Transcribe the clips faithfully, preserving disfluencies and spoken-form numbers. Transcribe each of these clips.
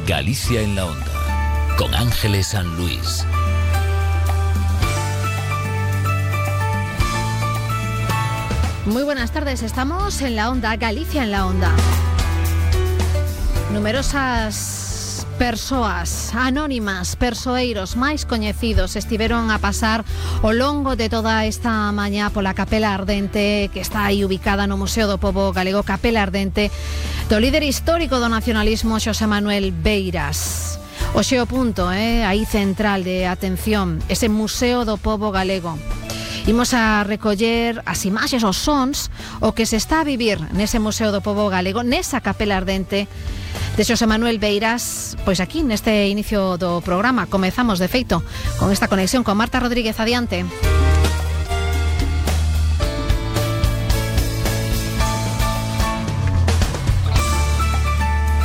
Galicia en la Onda, con Ángeles San Luis. Muy buenas tardes, estamos en la Onda, Galicia en la Onda. Numerosas persoas anónimas, persoeiros máis coñecidos estiveron a pasar ao longo de toda esta mañá pola Capela Ardente, que está aí ubicada no Museo do Pobo Galego. Capela Ardente do líder histórico do nacionalismo Xosé Manuel Beiras. O xeo punto, eh, aí central de atención, ese Museo do Pobo Galego. Imos a recoller as imaxes, os sons, o que se está a vivir nese Museo do Pobo Galego, nesa Capela Ardente de Xosé Manuel Beiras, pois aquí neste inicio do programa. Comezamos, de feito, con esta conexión con Marta Rodríguez. Adiante.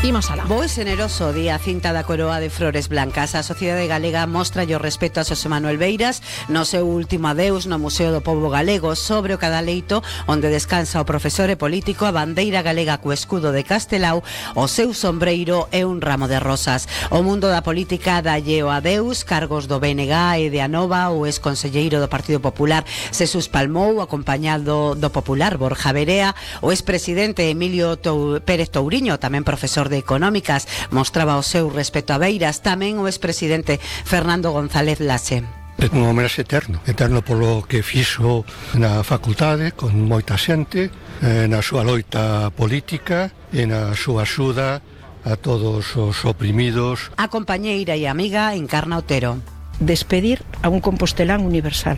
Imos alá. Bo e xeneroso día cinta da coroa de flores blancas. A sociedade galega mostra o respeto a Xosé Manuel Beiras no seu último adeus no Museo do Pobo Galego. Sobre o cadaleito onde descansa o profesor e político, a bandeira galega co escudo de Castelao, o seu sombreiro e un ramo de rosas. O mundo da política dalle o adeus. Cargos do B N G e de Anova, o exconselleiro do Partido Popular Xesús Palmou, acompañado do popular Borja Verea. O expresidente Emilio Tou- Pérez Touriño, tamén profesor de de Económicas, mostraba o seu respeto a Beiras. Tamén o expresidente Fernando González Laxe. É un homenaxe eterno, eterno polo que fixo na facultade con moita xente, eh, na súa loita política e na súa axuda a todos os oprimidos. A compañeira e amiga Encarna Otero. Despedir a un compostelán universal,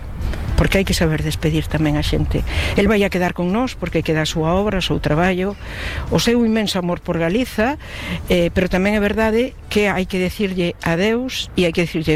porque hai que saber despedir tamén a xente. El vai a quedar con nós porque queda a súa obra, o seu traballo, o seu inmenso amor por Galiza, eh, pero tamén é verdade que hai que decirlle adeus e hai que decirlle